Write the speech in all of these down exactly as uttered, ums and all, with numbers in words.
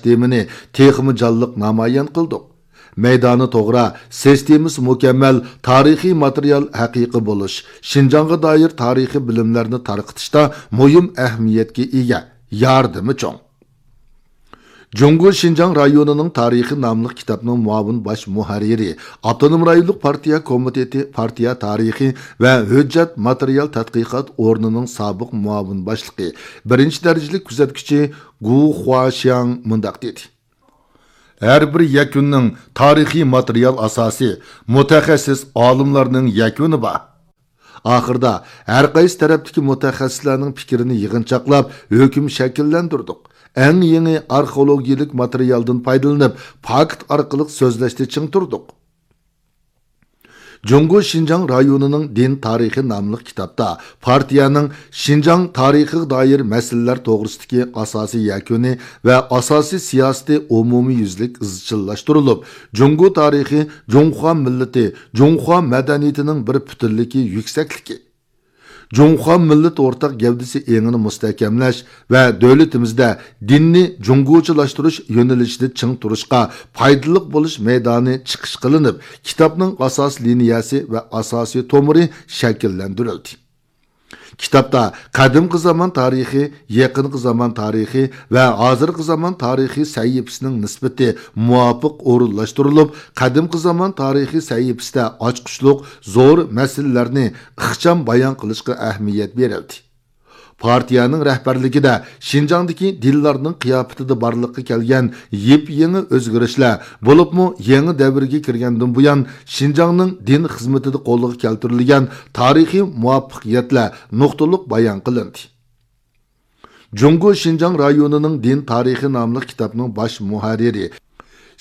سىستېمىنى تېخىمۇ جانلىق نامايان قىلدۇق. مەيدانى توغرا، سىستېمىسى مۇكەممەل تارىخىي ماتېرىيال ھەقىقىي بولۇش، شىنجاڭغا دائىر تارىخىي بىلىملەرنى تارقىتىشتا مۇھىم ئەھمىيەتكە ئىگە، ياردىمى چوڭ. جۇڭگو شىنجاڭ رايونىنىڭ تارىخى ناملىق كىتابنىڭ مۇئاۋىن باش مۇھەررىرى، ئاپتونوم رايونلۇق پارتىيە كومىتېتى پارتىيە تارىخى ۋە ھۆججەت ماتېرىيال تەتقىقات ئورنىنىڭ سابىق مۇئاۋىن باشلىقى، بىرىنچى دەرىجىلىك كۆزەتكۈچى گۇ خۇاشياڭ مۇنداق دېدى: ھەر بىر يەكۈننىڭ تارىخىي ماتېرىيال ئاساسى، مۇتەخەسسىس ئالىملارنىڭ يەكۈنى بار. ئاخىرىدا ھەر قايسى تەرەپتىكى مۇتەخەسسىسلەرنىڭ پىكرىنى يىغىنچاقلاپ، ھۆكۈم شەكىللەندۈردۇق. ئەڭ يېڭى ئارخېئولوگىيەلىك ماتېرىيالدىن پايدىلىنىپ، پاكىت ئارقىلىق سۆزلەشتە چىڭ تۇردۇق. جۇڭگو شىنجاڭ رايونىنىڭ دىن تارىخى ناملىق كىتابتا پارتىيەنىڭ شىنجاڭ تارىخىغا دائىر مەسىلىلەر توغرىسىدىكى ئاساسىي يەكۈنى ۋە ئاساسىي سىياسىتى ئومۇميۈزلۈك ئىزچىللاشتۇرۇلۇپ، جۇڭگو تارىخى، جۇڭخۇا مىللىتى، جۇڭخۇا مەدەنىيىتىنىڭ بىر پۈتۈنلۈكى يۈكسەكلىكى، جۇڭخۇا مىللىتى ئورتاق گەۋدىسى ئېڭىنى مۇستەھكەملەش ۋە دۆلىتىمىزدە دىننى جۇڭگوچىلاشتۇرۇش يۆنىلىشىدە چىڭ تۇرۇشقا پايدىلىق بولۇش مەيدانى چىقىش قىلىنىپ، كىتابنىڭ ئاساسىي لىنىيەسى ۋە ئاساسىي تومۇرى شەكىللەندۈرۈلدى. كىتابتا قەدىمكى زامان تارىخى، يېقىنقى زامان تارىخى ۋە ھازىرقى زامان تارىخى سەھىپىسىنىڭ نىسبىتى مۇۋاپىق ئورۇنلاشتۇرۇلۇپ، قەدىمكى زامان تارىخى سەھىپىسىدە ئاچقۇچلۇق زور مەسىلىلەرنى ئىخچام بايان قىلىشقا ئەھمىيەت بېرىلدى. پارتىيەنىڭ رەھبەرلىكىدە شىنجاڭدىكى دىنلارنىڭ قىياپىتىدە بارلىققا كەلگەن يېپيېڭى ئۆزگىرىشلەر، بولۇپمۇ يېڭى دەۋرگە كىرگەندىن بۇيان، شىنجاڭنىڭ دىن خىزمىتىدە قولغا كەلتۈرۈلگەن تارىخىي مۇۋەپپەقىيەتلەر نۇقتىلىق بايان قىلىندى. جۇڭگو شىنجاڭ رايونىنىڭ دىن تارىخى ناملىق كىتابنىڭ باش مۇھەررىرى،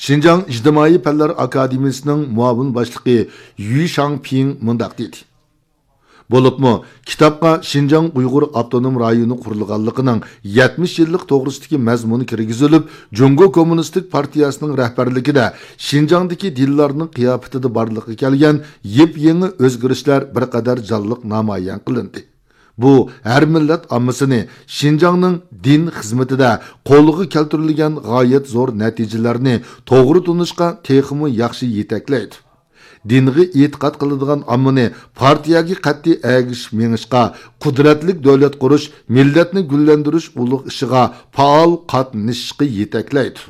شىنجاڭ ئىجتىمائىي پەنلەر ئاكادېمىيىسىنىڭ مۇئاۋىن باشلىقى يۈ شاڭپىڭ مۇنداق دېدى: بولۇپمۇ، كىتابقا شىنجاڭ ئۇيغۇر ئاپتونوم رايونى قۇرۇلغانلىقىنىڭ يەتمىش يىللىق توغرىسىدىكى مەزمۇن كىرگۈزۈلۈپ، جۇڭگو كوممۇنىستىك پارتىيەسىنىڭ رەھبەرلىكىدە شىنجاڭدىكى دىنلارنىڭ قىياپىتىدە بارلىققا كەلگەن يېپيېڭى ئۆزگىرىشلەر بىر قەدەر جانلىق نامايان قىلىندى. بۇ ھەر مىللەت ئاممىسىنى شىنجاڭنىڭ دىن خىزمىتىدە قولغا كەلتۈرۈلگەن غايەت زور نەتىجىلەرنى توغرا تونۇشقا تېخىمۇ ياخشى يېتەكلەيدۇ. دىنغا ئېتىقاد قىلىدىغان ئاممىنى پارتىيەگە قەتئىي ئەگىشىپ مېڭىشقا، قۇدرەتلىك دۆلەت قۇرۇش، مىللەتنى گۈللەندۈرۈش ئۇلۇغ ئىشىغا پائال قاتنىشىشقا يېتەكلەيدۇ.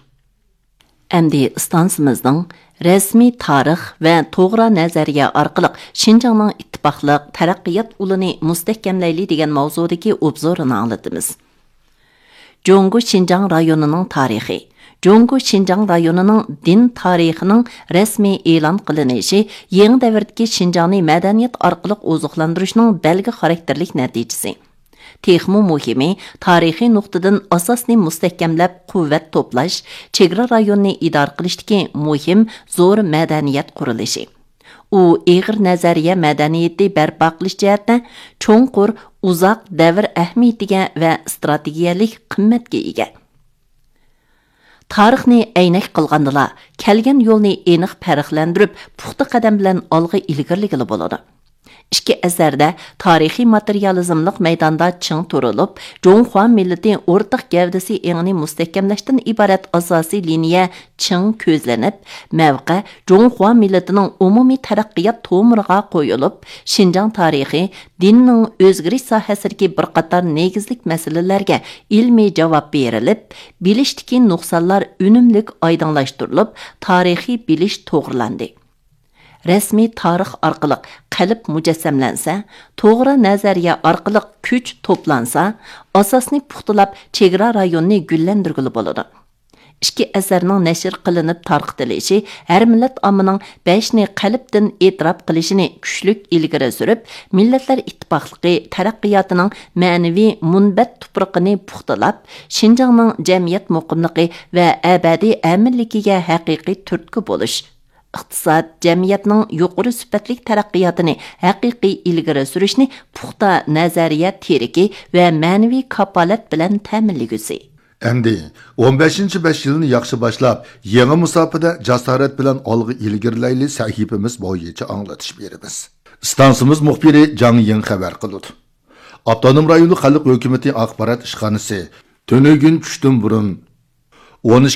ئەمدى ئىستانسىمىزنىڭ رەسمىي تارىخ ۋە توغرا نەزەرىيە ئارقىلىق شىنجاڭنىڭ ئىتتىپاقلىق، تەرەققىيات ئۇلىنى مۇستەھكەملەيلى دېگەن ماۋزۇدىكى ئوبزورىنى ئاڭلىتىمىز. جۇڭگو شىنجاڭ رايونىنىڭ تارىخى. جۇڭگو شىنجاڭ رايونىنىڭ دىن تارىخىنىڭ رەسمىي ئېلان قىلىنىشى يېڭى دەۋردىكى شىنجاڭنى مەدەنىيەت ئارقىلىق ئوزۇقلاندۇرۇشنىڭ بەلگە خاراكتېرلىك نەتىجىسى. تېخىمۇ مۇھىمى، تارىخىي نۇقتىدىن ئاساسنى مۇستەھكەملەپ، قۇۋۋەت توپلاش، چېگرا رايونىنى ئىدارە قىلىشتىكى مۇھىم زور مەدەنىيەت قۇرۇلۇشى. ئۇ ئېغىر نەزەرىيە مەدەنىيىتى بەرپا قىلىش جەھەتتە چوڭقۇر، ئۇزاق دەۋر ئەھمىيىتىگە ۋە ئىستراتېگىيەلىك قىممەتكە ئىگە. تارىخنى ئەينەك قىلغاندىلا، كەلگەن يولنى ئېنىق پەرقلەندۈرۈپ، پۇختا قەدەم بىلەن ئالغا ئىلگىرىلىگىلى بولىدۇ. ئىككى ئەسەردە تارىخىي ماتېرىيالىزملىق مەيداندا چىڭ تۇرۇلۇپ، جۇڭخۇا مىللىتى ئورتاق گەۋدىسى ئېڭىنى مۇستەھكەملەشتىن ئىبارەت ئاساسىي لىنىيە چىڭ كۆزلىنىپ، مەۋقە جۇڭخۇا مىللىتىنىڭ ئومۇمىي تەرەققىيات تومۇرىغا قويۇلۇپ، شىنجاڭ تارىخى، دىننىڭ ئۆزگىرىش ساھەسىدىكى بىر قاتار نېگىزلىك مەسىلىلەرگە ئىلمىي جاۋاب بېرىلىپ، بىلىشتىكى نۇقسانلار ئۈنۈملۈك ئايدىڭلاشتۇرۇلۇپ، تارىخىي بىلىش توغرىلاندى. رەسمىي تارىخ ئارقىلىق قەلب مۇجەسسەملەنسە، توغرا نەزەرىيە ئارقىلىق كۈچ توپلانسا، ئاساسنى پۇختىلاپ، چېگرا رايونىنى گۈللەندۈرگىلى بولىدۇ. ئىككى ئەسەرنىڭ نەشر قىلىنىپ تارقىتىلىشى ھەر مىللەت ئاممىنىڭ بەشنى قەلبتىن ئېتىراپ قىلىشىنى كۈچلۈك ئىلگىرى سۈرۈپ، مىللەتلەر ئىتتىپاقلىقى تەرەققىياتىنىڭ مەنىۋى مۇنبەت تۇپرىقىنى پۇختىلاپ، شىنجاڭنىڭ جەمئىيەت مۇقىملىقى ۋە ئەبەدىي ئەمىنلىكىگە ھەقىقىي تۈرتكە بولۇش، ئىقتىساد، جەمئىيەتنىڭ يۇقىرى سۈپەتلىك تەرەققىياتىنى ھەقىقىي ئىلگىرى سۈرۈشنى پۇختا نەزەرىيە تىرىكى ۋە مەنىۋى كاپالەت بىلەن تەمىنلىگۈسى. ئەمدى ئون بەشىنچى بەش يىلنى ياخشى باشلاپ، يېڭى مۇساپىدە جاسارەت بىلەن ئالغا ئىلگىرىلەيلى سەھىپىمىز بويىچە ئاڭلىتىش بېرىمىز. ئىستانسىمىز مۇخبىرى جاڭ يىڭ خەۋەر قىلىدۇ. ئاپتونوم رايونلۇق خەلق ھۆكۈمىتى ئاخبارات ئىشخانىسى تۈنۈگۈن چۈشتىن بۇرۇن ئون ئىككى